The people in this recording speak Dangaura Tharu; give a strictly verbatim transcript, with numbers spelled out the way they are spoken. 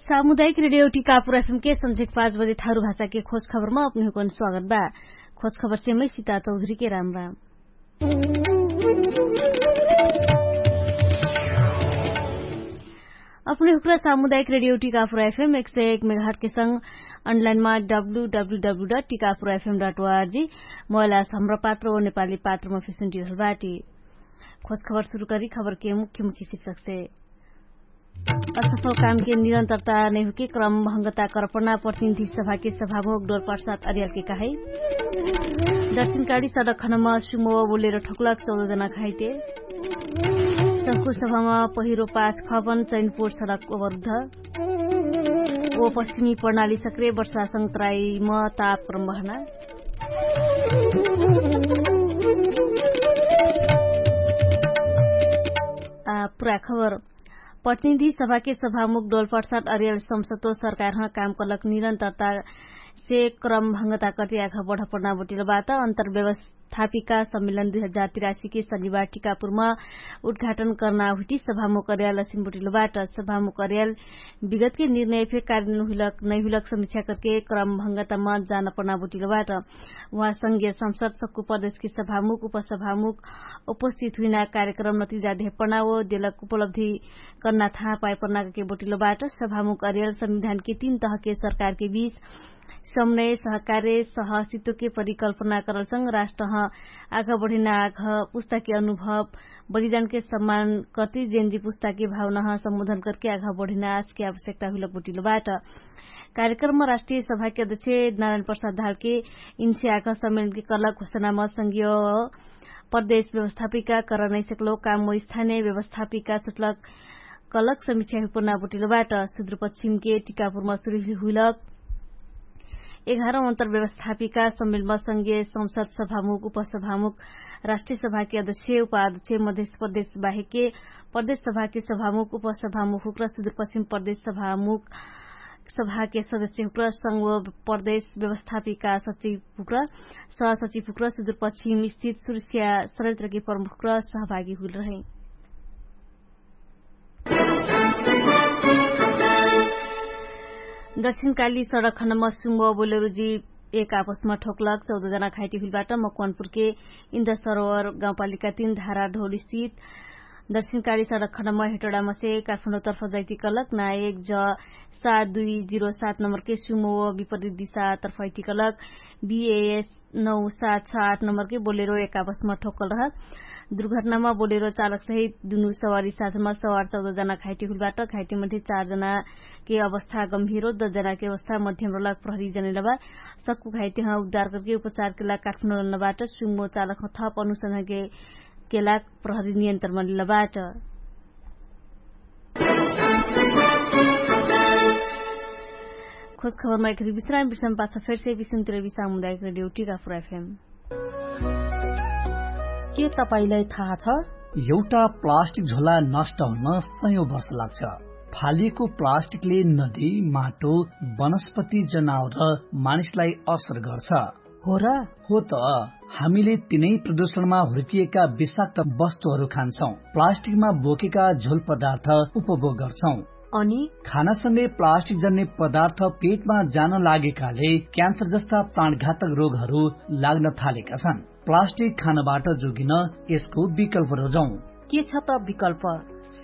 सामुदायिक रेडियो टिकापुर एफएम के सन्झेक पाँच बजे थारु भाषा के खोज खबरमा अपने हुकन स्वागत बा। खोज खबर सेमै सिता चौधरी के राम राम। अपने हुक्रा सामुदायिक रेडियो टिकापुर एफएम एक सय एक मेघाट के संग अनलाइनमा W W W dot Tikapur F M dot O R G mobile आस हमरा पात्र ओ नेपाली पात्रमा फेसन टिकल बाटी। खोज खबर सुरु करी खबर के मुख्य मुख्य शिक्षक से। असफल काम के निरन्तरता नैहुके क्रम भङ्गता कर्पना प्रतिनिधि सभा के सभामुख डोर प्रसाद अरियाल के कहाई। दर्शनकारी सडक खनमा सुमो बोलेर ठोकलक चौध जना घाइते। संकुल सभामा पहिरो पाँच खपन चैनपुर सडक अवरुद्ध। ओ पश्चिमी प्रणाली सक्रे वर्षा संग तराईमा ताप क्रम बहना। पुरा खबर। प्रतिनिधि सभाके सभामुख डोलपाटसाट अरियल संसदो सरकारह काम कलक निरन्तरता से क्रम भङ्गता कटियाख बढपडना बोटिलो बात अन्तर्व्यवस्थापिका सम्मेलन दुई हजार तिरासी के शनिबार टिकापुरमा उद्घाटन कर्ना हुइटी सभामुख अरियल असिन बोटिलो बाट। सभामुख अरियल विगतके निर्णय फे कार्यन हुइलक नैहुइलक समिक्षा करके क्रम भङ्गतामा जान पडना बोटिलो बाट। उहाँ संघीय संसद सक्कु प्रदेशके सभामुख उपसभामुख उपस्थित हुइना कार्यक्रम नतिजा धेपना ओ देलक उपलब्धि कर्ना थाहा पाइपर्ना के बोटिलो बाट। सभामुख अरियल संविधानके तीन तहके सरकारके बीच समनय सहकार्य सहसित्वके परिकल्पना करलसँग राष्ट्रह आघ बढिना आघ पुस्ताके अनुभव बलिदानके सम्मान कति जेन्जी पुस्ताके भावनाह सम्बोधन करके आघ बढिना आजके आवश्यकता हुइलक बोटिलो बाट। कार्यक्रममा राष्ट्रिय सभाके अध्यक्ष नारायण प्रसाद धालके इन्से आघ सम्मेलनके कलक घोषणामा संघीय प्रदेश व्यवस्थापिका करनैसकलो कामो स्थानीय व्यवस्थापिका छुटलक कलक समिक्षा हुइपना बोटिलो बाट। सुद्रपश्चिमके टिकापुरमा सुरुहि हुइलक एघारौँ अन्तर्व्यवस्थापिका सम्मेलमा संघीय संसद सभामुख उपसभामुख राष्ट्रिय सभाके अध्यक्ष उपाध्यक्ष मध्येश प्रदेश बाहेकके प्रदेश सभाके सभामुख उपसभामुख हुक्रा सुद्रपश्चिम प्रदेश सभामुख सभाके सदस्य हुक्रा संघ प्रदेश व्यवस्थापिका सचिव हुक्रा सहसचिव हुक्रा सुद्रपश्चिम स्थित सुरक्षा सरयन्त्रके प्रमुख हुक्रा सहभागी हुइल रहे। दक्षिणकाली सडक खण्डमा सुम्बो बोलेरो जीव एक आपसमा ठोकलक चौध जना घाइटी हुइलबाट मकवानपुरके इन्द्र सरोवर गाउँपालिका तीन धारा ढोल स्थित दक्षिणकाली सडक खण्डमा हेटोडामा से काठमाडौँ तर्फ जाइटी कलक ना एक ज सात दुई जिरो सात नम्बरके सुमो विपरीत दिशा तर्फ आइटी कलक बिएएस नौ सात छ आठ नम्बरके बोलेरो एक आपसमा ठोकल रह। दुर्घटनामा बोलेरो चालक सहित दुनु सवारी साथमा सवार चौध जना घाइटी हुइलबाट। घाइटी मध्ये चार जनाके अवस्था गम्भीर हो दस जनाके अवस्था मध्यम रहलक प्रहरी जनैलबा। सक्कु घाइटी ह उद्धार करके उपचारके लाग काठमाडौँ लनबाट सुमो चालक ह थप अनुसन्धानके केलाक प्रहरी नियन्त्रण मलिलबाट। खोज खबरमा एकरी विश्राम विश्राम पाछ फेरसे विश्राम तिरवी सामुदायिक रेडियो टिकापुर एफएम। के तपाईंलाई थाहा छ? एउटा प्लास्टिक झोला नष्ट हुन सयौं वर्ष लाग्छ। फालिएको प्लास्टिकले नदी, माटो, वनस्पति, जनावर र मानिसलाई असर गर्छ। हो र? हो त। हामीले तिनै प्रदूषणमा हुर्किएका विषाक्त वस्तुहरू खान्छौं, प्लास्टिकमा बोकेका झोल पदार्थ उपभोग गर्छौं। अनि खानासँगै प्लास्टिक जन्ने पदार्थ पेटमा जान लागेकाले क्यान्सर जस्ता प्राणघातक रोगहरू लाग्न थालेका छन्। प्लास्टिक खानबाट जोगिन यसको विकल्प रोजौं। के छ त विकल्प?